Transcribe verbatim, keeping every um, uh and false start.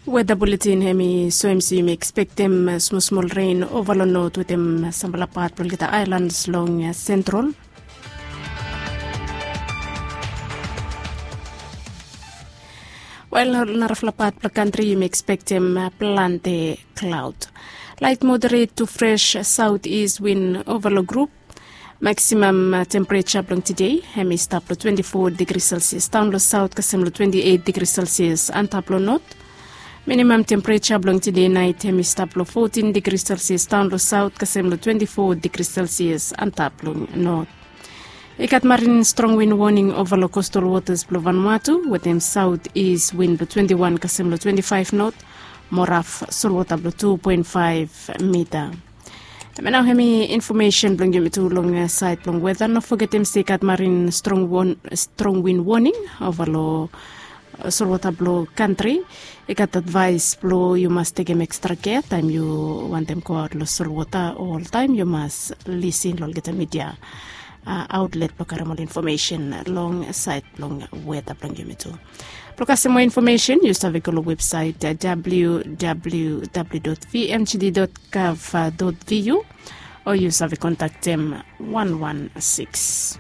Weta buletin hem i soem se yumi ekspektem smosmol ren ova long not wetem sampela pat blong olgeta aelans long sentral. Wel, narafala pat blong kantri yumi ekspektem plante klaud. Lait moderet tu fres saut is win ova long grup. Maksimam tempereja blong tide hem i stap long twenti fo digri selsias daon long saut kasem long twenti eit digri selsias antap long not. Minimam tempereja blong tide nait hem i stap long fotin digri selsias daon long saut kasem long twenti fo digri selsias antap long not. I gat marin strong win woning ova long kostal wotas blong Vanuatu wetem saut is win blong twenti wan kasem long twenti faef not, mo raf solwota blong tu poen faef mita. Em nau hem i infomesen blong yumi tu long sait blong weta. No fogetem se i gat marin strong win woning ova long solwota blong kantri. I gat advaes blong yu mas tekem ekstra kea taem yu wantem goaot long solwota. Oltaem yu mas lisin long olgeta midia aotlet blong karim ol infomesen long sait blong weta blong yumi tu. Blong kasem moa infomesen yu save go long websait www vmgd gov vu, o yu save kontaktem wan wan sikis.